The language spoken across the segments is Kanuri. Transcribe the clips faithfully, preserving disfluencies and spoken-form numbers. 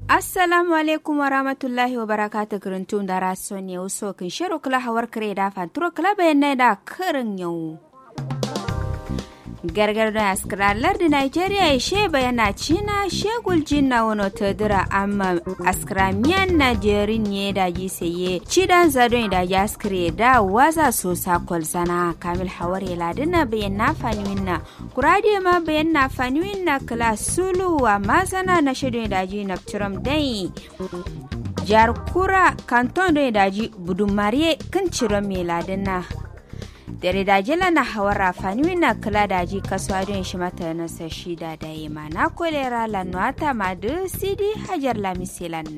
Assalamu alaikum warahmatullahi wabarakatuh. Kǝrǝntum dara sonne wuso kǝnshero kǝla hawar kǝre da fanturo kǝla bayanna da kǝrǝn yawo. Gargar don askǝra lardǝ nigeria ye she bayanna cina she guljin na wono tadǝra amma askǝra miyan na jerin ye daji saiye cidan za don ye daji askǝre da waza sosa kolzana kamil hawar ye ladǝna bayanna faniwin na. Kura adǝ ye ma bayanna faniwin na kǝla sulu wa mazana na shadon ye daji naftiram dai. Jar kura kanton don ye daji budumariye kǝn ciram ye ladǝna. Dare daji lana hawar ra faniwin na kǝla daji kasuwa don ye shima tana sa shida daye ma na kolera lanno ata ma dǝ sidi hajar lamis ye lan.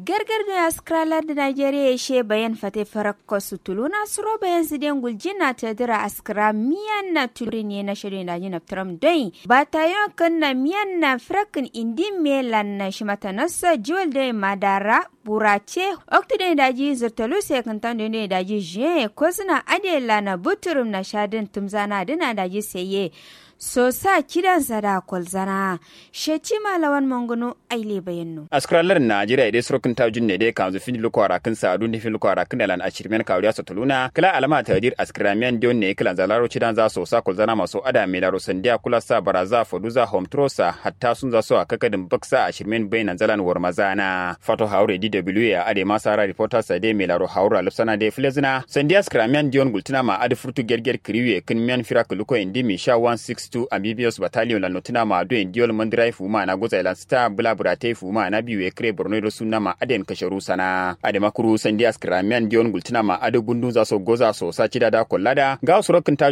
Gargar don ye askǝra lardǝ nigeria ye she bayan fate farakko sutuluna suro bayan sǝden guljin na tadǝra askǝra miyan na turin ye na shadon ye daji naftiram doi batayon kǝn na miyan na firakkin indi me lan na shima tana sa jiwal doi madara burace. Oktu doi daji zirtolus ye kǝntan doi doi daji jiyen ye kozǝna adǝ ye lana buturum na shadǝn tǝmzana dǝna daji saiye. Sosa cidan za da kolzana. Shecima lawan mangunu aile bayanno. Askǝra lardǝ nigeria ye dai suro kǝnta junne dai kanzu findi luko arakkǝn sa adun dǝ findi luko arakkǝn da lan ashirmen kawuriya sotuluna kǝla alama tadir askǝra miyan diyon ne kǝlanza laro cidan za sosa kolzana maso ada me laro sandiya kula sa baraza foduza homturo sa hatta sunza so a kakadin baksa ashirmen bainanza lan warmazana fato haure dw a adai ma sara reporter sa dai me laro haura lufsana dai fulezina sandiya askǝra miyan diyon gultuna ma adǝ furtu gerger kǝriwe kǝn miyan fira kǝluko indi misha one six two ambibiyos battalion lan notuna ma aduen diyol mandirai fuma na gozai lan sǝta bǝla bǝratai fuma na biwe kǝre borno ye do sunna ma aden kasharu sana adai ma kuru sandiya askǝra miyan diyon gultuna ma adǝ bundunza so goza so sa cida da kollada ngawo suro kǝnta.